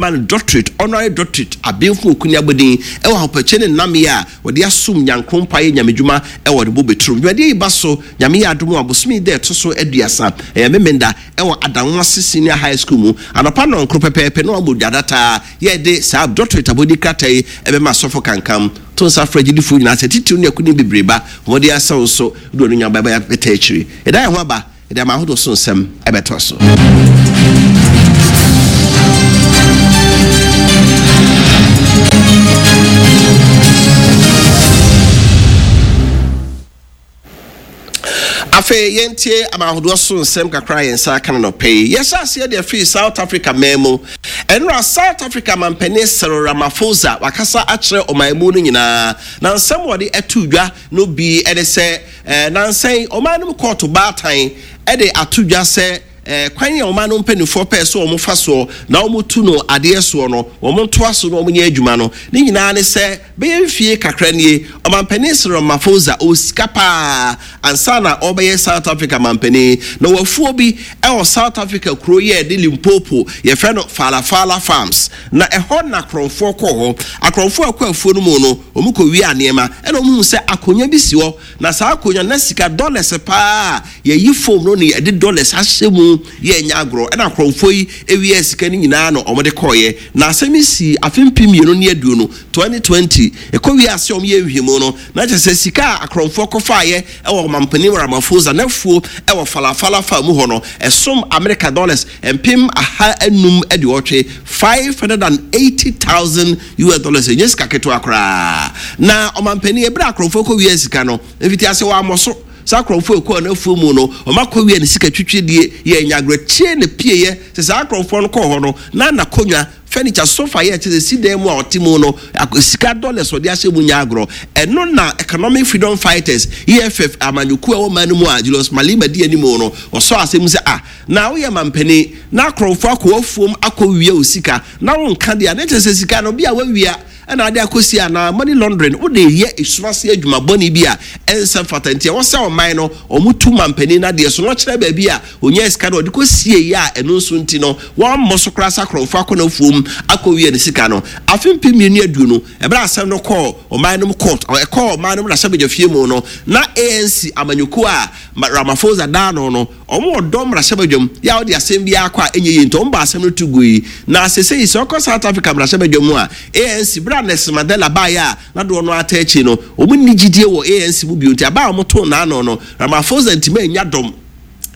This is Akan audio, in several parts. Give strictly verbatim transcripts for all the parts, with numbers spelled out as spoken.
bɛma no doctorate, honorary doctorate, abenfo okuni abɔdin ɛwɔ ahopɛkyɛ ne nnamyɛ a wɔde asom Nyankopɔn ayɛ nyamedwuma ɛwɔ ne bobeturo. Dwumadie yi ba so, Nyame yɛ adom a, bosome da ɛto so aduasa, ɛyɛ Memenda, ɛwɔ Adanwase Senior High School mu anɔpa nɔnkoro pɛpɛɛpɛ na wabɔ dwa dataa. Yɛde saa doctorate abɔdin krataa yi ɛbɛma asɔfo Kankam. To nsa frɛ agyidifoɔ nyinaa sɛ titiriw ne akuni bebree ba wɔde asɛw nso de ɔno nya bɛbɛ bɛta akyiri. Yɛda yɛn ho aba, yɛde ama ahodoɔ so nsɛm ɛbɛtɔ so. Afei yɛntie ama ahodoɔ so nsɛm kakra a yɛn nsa aka no nɔpɛ yi. Yɛhyɛ aseɛ deɛ firi South Africa man mu. Ɛnora South Africa mampanin Cyril Ramaphosa wakasa akyerɛ ɔman mu no nyinaa, na nsɛm wɔde ɛto dwa no bi ɛne sɛ ɛɛ nansɛn ɔman no mu kɔɔto baatan ɛde ato dwa sɛ ɛɛ kwan a ɔman no mpanimfoɔ pɛɛ so wɔn fa soɔ na wɔn tu no adeɛ soɔ no, wɔn ntoa so na wɔn nyɛ adwuma no. Ne nyinaa ne sɛ bɛyɛ mfie kakra nie, ɔmampanin Cyril Ramaphosa ɔwɔ sika paa ansa na ɔbɛyɛ South Africa mampanin, na wafuo bi ɛwɔ South Africa kuro yɛ de Limpopo, yɛfrɛ no Phala Phala Farms, na ɛhɔ na akorɔmfoɔ kɔɔ hɔ. Akorɔmfoɔ akɔ afuo no mu no, wɔn kɔ wie nneɛma ɛna wɔn hu sɛ akonnwa bi si hɔ, na saa akonnwa na sika dollars paa yɛyi fom no ne yɛde dollars ahyɛ mu yɛ nya agorɔ. Ɛna akorɔmfoɔ yi ewie sika no nyinaa na wɔn de kɔɔyɛ. Na asɛm yi si afe mpem mmienu ne aduonu, twenty twenty, ɛkɔ wie ase wɔn yɛ nhwehwɛmu no na kyerɛ sɛ sika a akorɔmfoɔ kɔfaayɛ ɛwɔ ɔmampanin Ramaphosa n'afuo ɛwɔ Phala Phala Farm mu hɔ no ɛsom America dollars mpem aha enum aduɔtwe, five hundred and eighty thousand U S dollars. Ɛnyɛ sika ketewa koraa. Na ɔmampanin, ebere akorɔmfoɔ kɔ wie sika no, mfiti ase wɔ amɔ so saa akorɔmfoɔ ekɔ n'afuo mu no, wɔn akɔ wie ne sika twitwi die yɛ nyagrɛkyie ne pie sɛ saa akorɔmfoɔ no kɔɔ hɔ no na n'akonnwa, furniture, sofa yɛ kyerɛ sɛ si dan mu a ɔte mu no, sika dollars ɔde ahyɛ mu nya agorɔ. Ɛno na Economic Freedom Fighters, E F F amanyɔkuo a ɛwɔ man no mu a Julius Malema di anim no, ɔsɔ asɛm sɛ, ah, na woyɛ mampanin na akorɔmfoɔ akɔ afuom akɔ wia o sika na wonka deɛ a, ne kyerɛ sɛ sika no bi a wawia ɛna ade akɔsi anaa money laundering wode yɛ esumase adwuma bɔne bi a ɛnsɛ fata. Nti ɛwɔ sɛ ɔman no ɔmo tu mampanin no adeɛ so na ɔkyerɛ baabi a onyaa sika no ɔde kɔsie yɛ a ɛno nso nti no wɔmmɔ so koraa sɛ akorɔmfoɔ akɔ n'afuom akɔwie ne sika no. Afe mpem mmienu aduonu, ɛberɛ asɛm no kɔɔ ɔman no mu court, ɛkɔɔ ɔman no mu mmarahyɛbadwafie mu no, na A N C amanyɔkuo a Ramaphosa daa no no ɔmo wɔ dɔm mmarahyɛbadwam yɛ a ɔde asɛm bi akɔ a ɛnyɛ yie, nti ɔmo ba asɛm no to gu yi. Na sese yi sɛ ɔkɔ South Africa mmarahyɛbadwam mu a, A N C bere a Nelson Mandela baeɛ a na doɔ no ata akyi no, ɔmo nni gyidie wɔ A N C mu bio, nti aba a ɔmo too n'ano no, Ramaphosa ntoma anya dɔm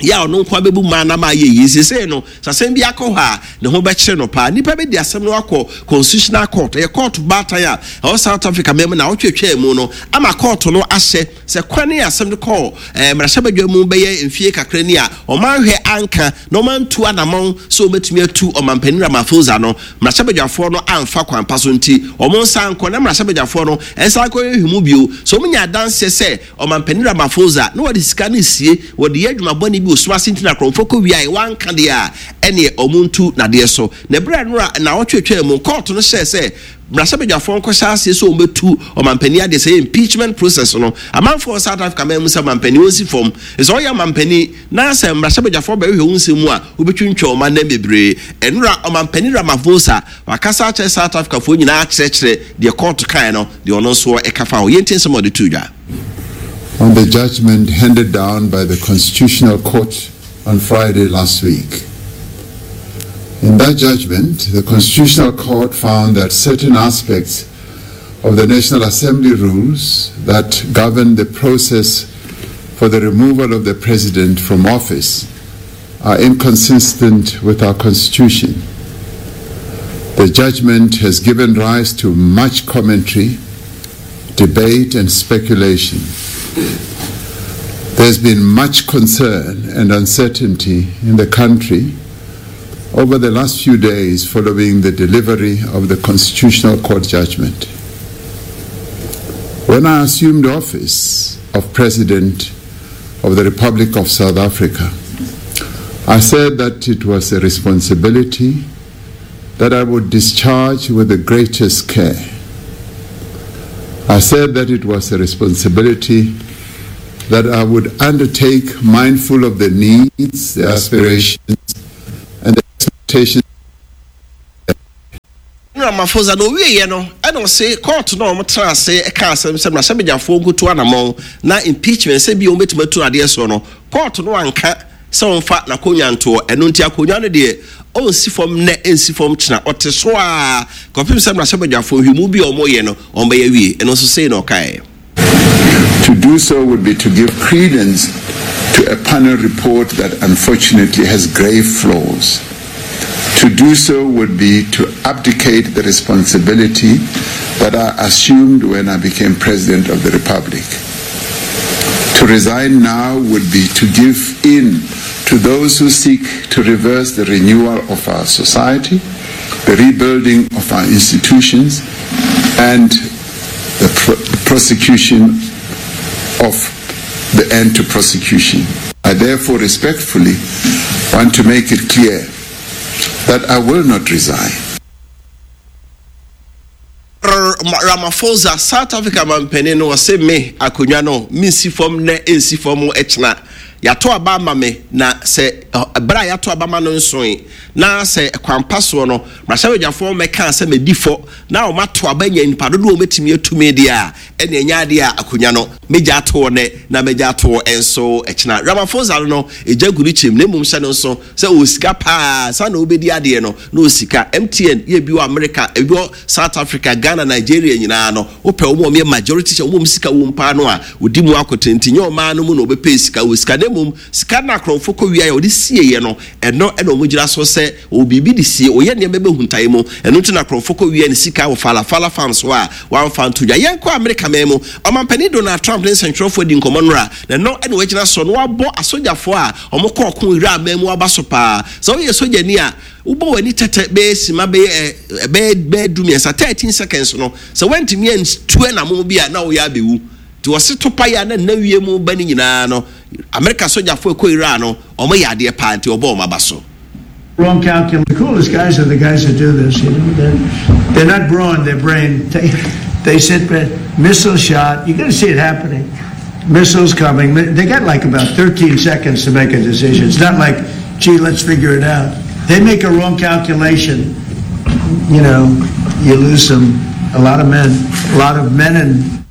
yɛ a ɔno nko abɛbu mmaa nam ayɛ yie. Sesei no sɛ asɛm bi akɔ hɔ a, ne ho bɛkyerɛ no paa. Nipa bi de asɛm no akɔ Constitutional Court, ɛyɛ court baatan a ɛwɔ South Africa mɛmu, na ɔtwetwɛ mu no ama court no ahyɛ sɛ kwan ne asɛm no kɔɔ ɛɛ mmarahyɛbadwa mu bɛyɛ mfie kakra ni a ɔman hwɛ anka na ɔman tu anamɔn sɛ ɔbɛtumi atu ɔmampanin Ramaphosa no, mmarahyɛbadwafoɔ no amfa kwan pa so, nti ɔmo nsa nkɔ na mmarahyɛbadwafoɔ no ɛnsa akɔ ehwɛ bio so ɔmo nya adanseɛ sɛ ɔmampanin Ramaphosa na wɔde sika no sie, wɔde yɛ adwuma bɔne bi osum ase, nti na akorɔmfoɔ kɔ wia wanka deɛ a ɛneɛ ɔmo ntu nadeɛ so. Na ɛberɛ no a na ɔtwetwe mu, court no hyɛ sɛ mmarahyɛbadwafoɔ nkɔhyɛ aseɛ sɛ wɔbɛtu ɔmampanin adeɛ sɛ impeachment process no. Amanfoɔ South Africa man mu sɛ ɔmampanin wɔnsi fam sɛ ɔyɛ ɔmampanin na sɛ mmarahyɛbadwafoɔ bɛhwehwɛ wo nsɛm mu a, wobɛtwintwa ɔma nam bebree. Ɛnora ɔmampanin Ramaphosa wakasa akyerɛ South Africa foɔ nyinaa, akyerɛkyerɛ deɛ court kae no, deɛ ɔno nso ɛka fa ho. Yɛntie nsɛm a ɔde to dwa. On the judgment handed down by the Constitutional Court on Friday last week. In that judgment, the Constitutional Court found that certain aspects of the National Assembly rules that govern the process for the removal of the President from office are inconsistent with our Constitution. The judgment has given rise to much commentary, debate, and speculation. There's been much concern and uncertainty in the country over the last few days following the delivery of the Constitutional Court judgment. When I assumed office of President of the Republic of South Africa, I said that it was a responsibility that I would discharge with the greatest care. I said that it was a responsibility that I would undertake mindful of the needs, the aspirations, and the expectations. Ramaphosa na owieɛ no, ɛna ɔse court no a wɔtena ase ɛka asɛm sɛ mmarahyɛbadwafoɔ nkoto anammɔn na impeachment sɛ bi wɔn bɛtumi atu adeɛ soɔ no, court no anka sɛ wɔmfa n'akonnwa ntoɔ. Ɛno nti akonnwa no deɛ, ɔnsi fam nnɛ, ɛnsi fam kyena, ɔte so a kɔpem sɛ mmarahyɛbadwafoɔ nhwɛmu bi a wɔyɛ no wɔn wie. Ɛno nso sei na ɔkaeɛ. To do so would be to give credence to a panel report that unfortunately has grave flaws. To do so would be to abdicate the responsibility that I assumed when I became President of the Republic. To resign now would be to give in to those who seek to reverse the renewal of our society, the rebuilding of our institutions, and the pr- prosecution of the end to prosecution. I therefore respectfully want to make it clear that I will not resign. Ramaphosa, South Africa mampanin no, wɔse me akonnwa no mensi fam nnɛ, ɛnsi fam ɛkyena. Yɛato aba ama me, na sɛ ɛberɛ a yɛato aba ma no nsoe na sɛ kwampa soɔ no mmarahyɛbadwafoɔ mɛka sɛ madi fɔ na ɔmato aba nya nipa dodoɔ wɔmɛtumi atumi deɛ a, ɛne ɛnyɛ adeɛ a akonnwa no mɛgya atoɔ nɛ na mɛgya atoɔ nso ɛkyena. Ramaphosa no ɛgya gu no kyɛm, na mmom hyɛ no nso sɛ ɔwɔ sika paa sa na wobɛdi adeɛ no na ɔwɔ sika. M T N yɛ bi wɔ America, ebi wɔ South Africa, Ghana, Nigeria nyinaa no, wopɛ wɔn a wɔyɛ majority hyɛ wɔn sika wɔ paa no a ɔdi mu akote, nti nyɛ ɔmaa no mu na ɔbɛpɛ sika wɔ sika, na mmom sika no akorɔmfo kɔ wia yɛ ɔde sieɛ no, ɛno ɛna wɔn gyina so sɛ ɔwɔ biribi de sie, ɔyɛ nneɛma bɛhuntae mu. Ɛno nti na akorɔmfo kɔ wia ne sika wɔ Phala Phala Farm so a wɔamfa nto dwa. Yɛnkɔ Amerika man mu. Ɔmampanin Donald Trump ne nsɛntwerɛfoɔ di nkɔmmɔ nora, na ɛno ɛna wɔagyina so na wabɔ asogyafoɔ a wɔn kɔ ɔko Iran man mu aba so paa. Sɛ woyɛ sogyani a, wobɔ w'ani tɛtɛ bɛyɛ sima bɛyɛ bɛyɛ bɛyɛ du mmiɛnsa, thirteen seconds no, sɛ wɔntumi antu ɛnam bi a na wɔyɛ abɛwu. Nti wɔse topa yi a na nna wie mu ba no nyinaa no, Amerika sogyafoɔ ɛkɔ Iran no, wɔn yɛ adeɛ paa, nti wɔbɔ wɔn aba so. Wrong calculation. The coolest guys are the guys that do this. You know, they're, they're not brawn, they're brain. They, they sit back, missile shot. You got to see it happening. Missiles coming. They got like about thirteen seconds to make a decision. It's not like, "Gee, let's figure it out." They make a wrong calculation. You know, you lose some, a lot of men, a lot of men and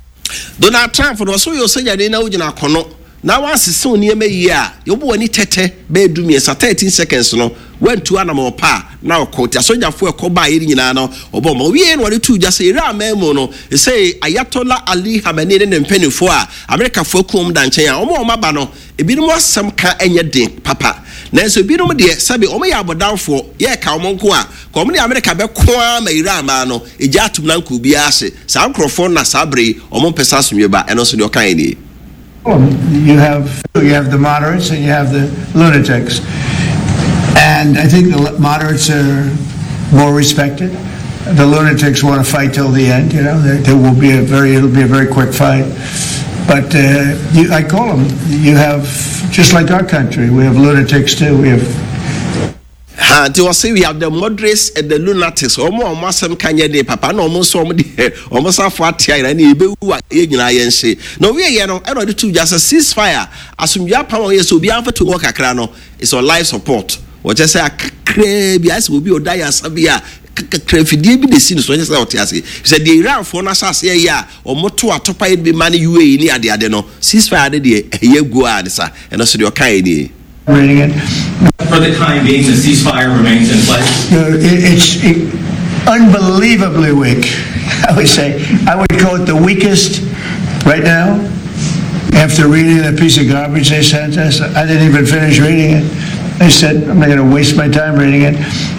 Donald Trump no ɔso yɛ ɔsɛgyane na wogyina akɔno na wasese wo nneɛma yie a, yɛbɔ w'ani tɛtɛ bɛyɛ du mmiɛnsa, thirteen seconds no, wantu anam ɔpa a na ɔkɔ. Nti asogyafoɔ ɛkɔ baa yɛ nyinaa no, ɔbɔ ma owie na wɔde tu gya sɛ Iran man mu no sɛ Ayatollah Ali Khamenei ne ne mpanimfoɔ a Amerikafoɔ akum da nkyɛn a wɔn a wɔn aba no, ebinom asɛm ka nyɛ den papa, nanso ebinom deɛ, sɛbi, wɔn yɛ abɔdanfoɔ, yɛreka wɔn nko a ka wɔn ne Amerika bɛko ara ma Iran maa no egya atum na nko obiara ase. Saa nkurɔfoɔ na saa bere yi wɔn mpɛ sɛ asomdwe ba. Ɛno nso deɛ ɔka yɛ nie. You have you have the moderates and you have the lunatics, and I think the moderates are more respected. The lunatics want to fight till the end. You know, there, there will be a very it'll be a very quick fight. But uh, you, I call them. You have, just like our country, we have lunatics too. We have Ha, nti wɔsɛ we have the moderates and the lunatics. Wɔn a wɔn asɛm ka nyɛ de papa na wɔn nso wɔn deɛ wɔn safo atea yɛn na ebewu a yɛn nyinaa yɛn hye. Na owie yɛ no, ɛna ɔde tu gya sɛ ceasefire, asomdwe apam a wɔyɛ sɛ obiara mfa tu hɔ kakra no is on life support. Wɔkyɛ sɛ akakraa bi ayɛ sɛ obi ɔda yɛ asa bi a kakra fidie bi de si no so, ɔnyɛ sɛ ɔte ase sɛ deɛ Iranfoɔ no ahyɛ aseɛ yɛ a wɔn to atopa yɛ bi ma ne U A E ne adeade no. Ceasefire de deɛ ɛyɛ gu a ne sa. Ɛno so deɛ ɔka yɛ nie. Reading it. For the time being, the ceasefire remains in place. No, it, it's it, unbelievably weak. I would say I would call it the weakest right now. After reading the piece of garbage they sent us, I didn't even finish reading it. I said, "I'm not going to waste my time reading it."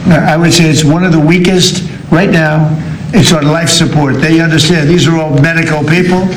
I would say it's one of the weakest right now. It's on life support. They understand. These are all medical people.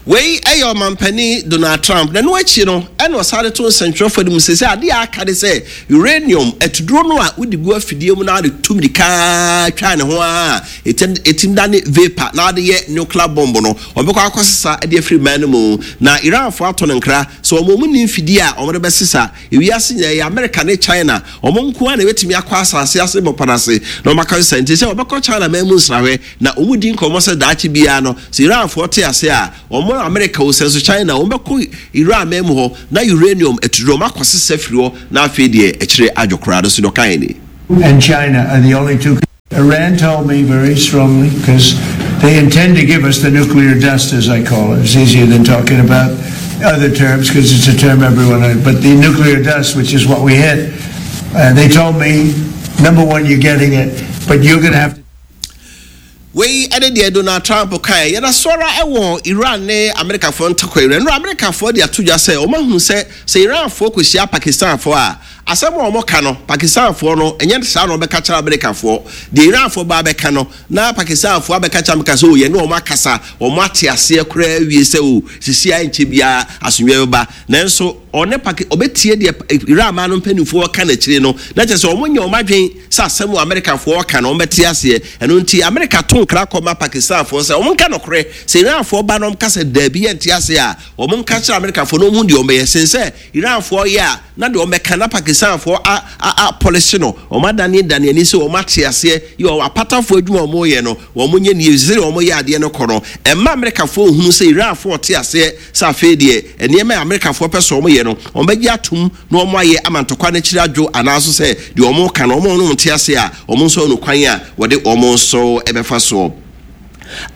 Wei ɛyɛ ɔmampanin Donald Trump. Na no akyi no, ɛna ɔsare to nsɛntwerɛfoɔ no mu sɛ sɛ adeɛ a aka de sɛ uranium atuduro no a wode gu afidie mu na wode tu mirika twa ne ho a ɛtim da ne vapor na wode yɛ nuclear bomb no, ɔbɛkɔ akɔsesa de afiri man no mu. Na Iranfoɔ ato no nkra sɛ wɔn mu ni mfidie a wɔde bɛsesa ewiase nyinaa yɛ America ne China, wɔn nko ara na ebɛtumi akɔ asase ase bɔpa n'ase na wɔn aka sesa. Nti sɛ wɔbɛkɔ China man mu nsrahwɛ na wɔn di nkɔmɔ sɛ daakye biara no, sɛ Iranfoɔ te ase a, wɔn America wɔ sɛ nso China, wɔn bɛkɔ Iran man mu hɔ na uranium atuduro wɔn akɔ sesa firi hɔ, na afei deɛ akyire adwo koraa no so deɛ ɔka yɛ ni. And China are the only two Iran told me very strongly, because they intend to give us the nuclear dust, as I call it. It's easier than talking about other terms because it's a term everyone knows. But the nuclear dust, which is what we hit, uh, they told me, number one, you're getting it, but you're going to have to Wei ɛne deɛ Donald Trump kae. Yɛda sɔra ɛwɔ Iran ne Amerikafoɔ ntɔkwa. Iran no, Amerikafoɔ de ato dwa sɛ wɔn ahunu sɛ sɛ Iranfoɔ kɔhyia Pakistanfoɔ a, asɛm a wɔn ka no, Pakistanfoɔ no ɛnyɛ saa na wɔbɛka kyerɛ Amerikafoɔ. Deɛ Iranfoɔ ba abɛka no na Pakistanfoɔ abɛka kyerɛ Amerika sɛ o, yɛne wɔn akasa, wɔn ate aseɛ koraa awie sɛ o, sisi a nkyɛ biara asomdwoeɛ bɛba. Nanso ɔne Paki ɔbɛtie deɛ Iran man no mpanimfoɔ ka n'akyire no, na kyerɛ sɛ wɔn nyɛ wɔn adwen sɛ asɛm wɔ Amerikafoɔ ka no wɔn bɛte aseɛ. Ɛno nti Amerika to nkra kɔma Pakistanfoɔ sɛ wɔn nka nokorɛ. Sɛ Iranfoɔ ba no, wɔn ka sɛ daabi, yɛnte aseɛ a, wɔn nka kyerɛ Amerikafoɔ na wɔn hu deɛ wɔn bɛyɛ sen sɛ Iranfoɔ yɛ a, na deɛ wɔn bɛka na Pakistanfoɔ a a a pɔlisi no, wɔn adane dane ani sɛ wɔn ate aseɛ yɛ wɔn apatafoɔ adwuma a wɔn yɛ no, wɔn nyɛ nie sɛ wɔn yɛ adeɛ no kɔ no, ɛmma Amerikafoɔ hunu sɛ Iranfoɔ te aseɛ sɛ afei deɛ nneɛma a Amerikafoɔ pɛ sɛ wɔn yɛ no, wɔn bɛgye atum na wɔn ayɛ ama ntɔkwa n'akyiri adwo, anaaso sɛ deɛ wɔn ka no wɔn no te ase a, wɔn nso no kwan a wɔde wɔn nso ɛbɛfa soɔ.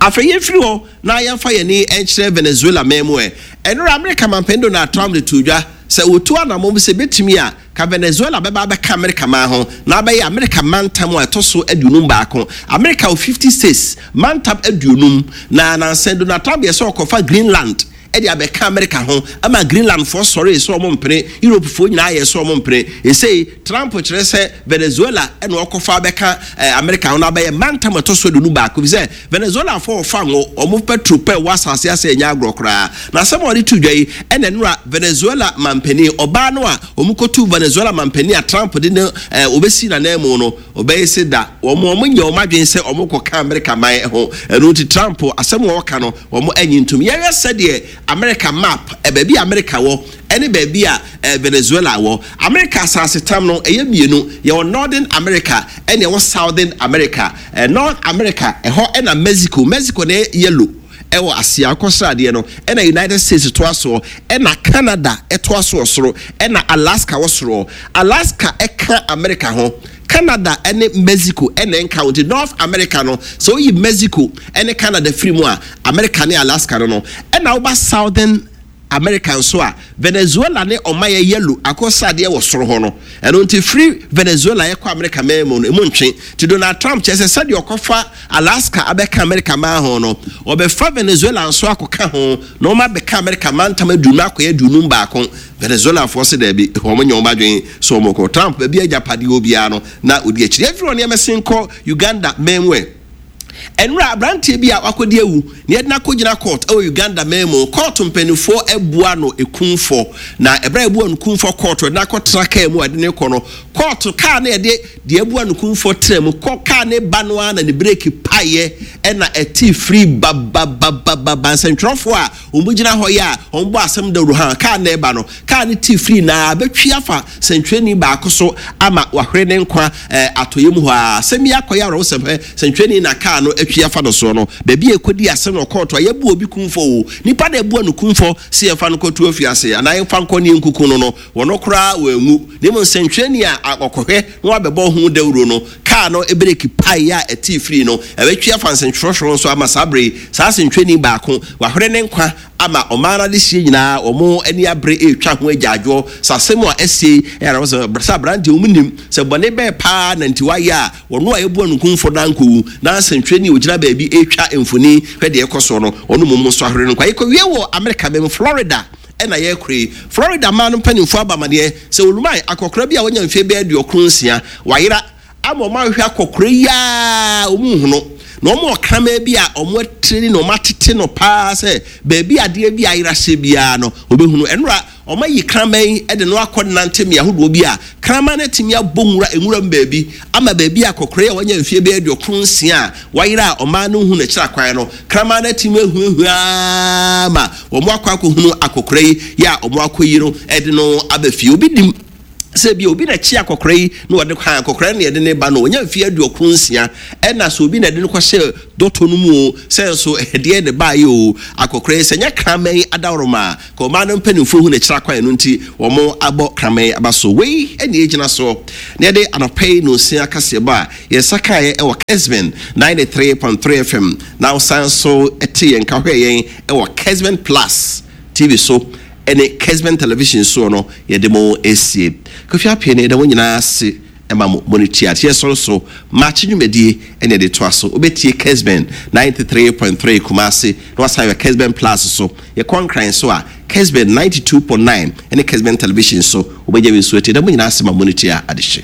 Afei yɛmfiri hɔ na yɛmfa yɛni nkyerɛ Venezuela man mu. Ɛ ɛnora Amerika mampanin Donald Trump de to dwa sɛ wɔtu anammɔm sɛ bɛtumi a ka Venezuela bɛba abɛka Amerika man ho na abɛyɛ Amerika mantam a ɛtɔ so aduonum baako. Amerika wɔ fifty states, mantam aduonum, na nansɛn Donald Trump yɛ sɛ ɔkɔfa Greenland ɛde abɛka Amerika ho ama Greenlandfoɔ sɔre sɛ ɔmo mpene. Europefoɔ nyinaa yɛ sɛ ɔmo mpene. Esei Trump kyerɛ sɛ Venezuela ɛna ɔkɔfa abɛka ɛɛ Amerika ho na abɛyɛ mantam ɛtɔ so aduonu baako bi sɛ Venezuelafoɔ ɔfa ngo, ɔmo petrol pɛ wɔ asase ase, ɛnyɛ agorɔ koraa. Na asɛm a ɔde to dwa yi ɛna nura Venezuela mampanin ɔbaa no a ɔmo kɔtu Venezuela mampanin a Trump de ne ɛɛ obesi n'anan mu no, ɔbɛyɛ sɛ da wɔn wɔn nyɛ wɔn adwene sɛ wɔn kɔka Amerika man ho. Ɛno nti Trump asɛm a ɔka no, wɔn anyi ntom. Yɛyɛ sɛdeɛ America map, ɛ baabi a America wɔ ɛne baabi a ɛ Venezuela wɔ. America asase tam no ɛyɛ mmienu: yɛwɔ Northern America ɛne ɛwɔ Southern America. ɛ North America ɛhɔ ɛna Mexico Mexico na ɛyɛ yellow ɛwɔ aseɛ akɔsradeɛ no, ɛna United States toa soɔ, ɛna Canada ɛtoa soɔ soro, ɛna Alaska wɔ soro. Alaska ɛka America ho, Canada ɛne Mexico ɛna nka ho. Nti North America no, sɛ woyi Mexico ɛne Canada firi mu a, America ne Alaska no no ɛna woba Southern America nso a, Venezuela ne ɔma yɛ yellow akɔsradeɛ wɔ soro hɔ no. Ɛno nti firi Venezuela yɛkɔ America man mu no, emu ntwe. Nti Donald Trump kyerɛ sɛ sɛdeɛ ɔkɔfa Alaska abɛka America man ho no, ɔbɛfa Venezuela nso akɔka ho na wɔn abɛka America mantam aduonu akɔyɛ aduonum baako. Venezuelafoɔ sɛ daabi, wɔn nyɛ wɔn adwene so wɔn kɔ. Trump baabi agyapadeɛ obiara no na odi akyiri. Efiri wɔn nneɛma sen kɔ Uganda man mu. Ɛ ɛnura aberanteɛ bi a wakɔdi awu na yɛde no akɔgyina court ɛwɔ Uganda man mu. Court mpanimfoɔ abua no ekumfɔ, na ɛberɛ a ebua no kumfɔ, court yɛde no akɔtena kaa mu a yɛde no kɔ no court, kaa no yɛde deɛ abua no kumfɔ tena mu kɔ, kaa ne ba no ara na ne brake paeɛ ɛna ɛte firi bababababa. Nsɛntwerɛfoɔ a wɔn gyina hɔ yɛ a wɔn bɔ asɛm dawuro ha, kaa no ɛba no, kaa no te firi na abɛtwi afa sɛntwerɛni baako so ama wahwere ne nkwa ɛɛ atɔyɛ mu hɔ a. Asɛm yi akɔyɛ awerɛhosɛm hɛ. Sɛntwerɛni na kaa no atwi afa no soɔ no, baabi a ɛkɔdi asɛm no kɔɔto a yɛbu obi kumfɔ o, nipa na ɛbua no kumfɔ sɛ yɛmfa no kɔto afiase anaa yɛmfa nkɔ ne nkuku no no wɔno koraa wɔanwu, na mmom nsɛntwerɛni a ɔkɔhwɛ na wabɛbɔ ho dawuro no, kaa no brake paeɛ a ɛte firi no ɛbɛtwi afa nsɛntwerɛhwerɛ nso ama saa bere saa nsɛntwerɛni baako wahwere ne nkwa ama ɔman no adehyie nyinaa wɔn ani abere retwa ho agyaadwoɔ sɛ asɛm a ɛsie ɛyɛ sɛ sɛ aberanteɛ wɔn nim sɛ bɔne bɛɛ paa na nti wayɛ a wɔn a yɛbua no kumfo na nkɔwu na nsɛntwerɛni a ogyina baabi retwa mfoni hwɛ deɛ ɛkɔ soɔ no, ɔno mmom nso ahwere no nkwa. Yɛkɔwie wɔ Amerika mɛm, Florida ɛna yɛrekɔ yi. Florida maa no mpanimfoɔ aba amadeɛ sɛ oluman akɔkora bi a wanya mfeɛ bɛyɛ aduɔkron nsia wayera ama ɔmo ahwehwɛ akɔkora yi a ɔmo nhunu, na ɔmo ɔkraman bi a ɔmo atire na ɔmo atete no paa sɛ beebi adeɛ bi ayera hyɛ biara no ɔbɛhunu. Ɛnora ɔmo ayi kraman yi ɛde no akɔ nante mmea ahodoɔ bi a kraman no atumi abɔ nwura nwura mu baabi ama baabi akɔkora yi a wanya mfeɛ bɛyɛ aduɔkron nsia a wayera a ɔmaa no hu n'akyiri akwan no, kraman no atumi ahuahua ma wɔn akɔ akɔhunu akɔkora yi yɛ a wɔn akɔ yi no ɛde no aba fie. Obi dim Sɛ bi obi na kyi akɔkora yi na wɔde kwan akɔkora no yɛde ne ba no, ɔnya mfeɛ aduɔkron nsia, ɛna sɛ obi na ɛde no kɔhyɛ dɔtɔ no mu o, sɛ nso ɛdeɛ ne baayɛ o, akɔkora yi sɛ nyɛ kraman adaworoma a ka ɔmaa no mpanimfoɔ hu n'akyira kwan no nti wɔn abɔ kraman aba so. Wei ɛna egyina so na yɛde anɔpɛ yi nonsia kaseɛbɔ a yɛnsa kaeɛ ɛwɔ Kesben ninety-three point three F M, na wosan so ɛte yɛn ka hwɛ yɛn ɛwɔ Kesben Plus T V so ɛne Kesben Television soɔ no, yɛde mo esie. Kofi Appiah ne yɛda mo nyinaa ase ɛma mo mo ne tia ateɛ sɔrɔ so maakye dwumadie ɛne yɛde toa so. Wobɛtie Kesben ninety-three point three Kumase na wasan yɛ Kesben Plus so. Yɛkɔ Nkran so a, Kesben ninety-two point nine ɛne Kesben Television so wobɛgya bi nso atie. Da mo nyinaa ase ma mo ne tia adehye.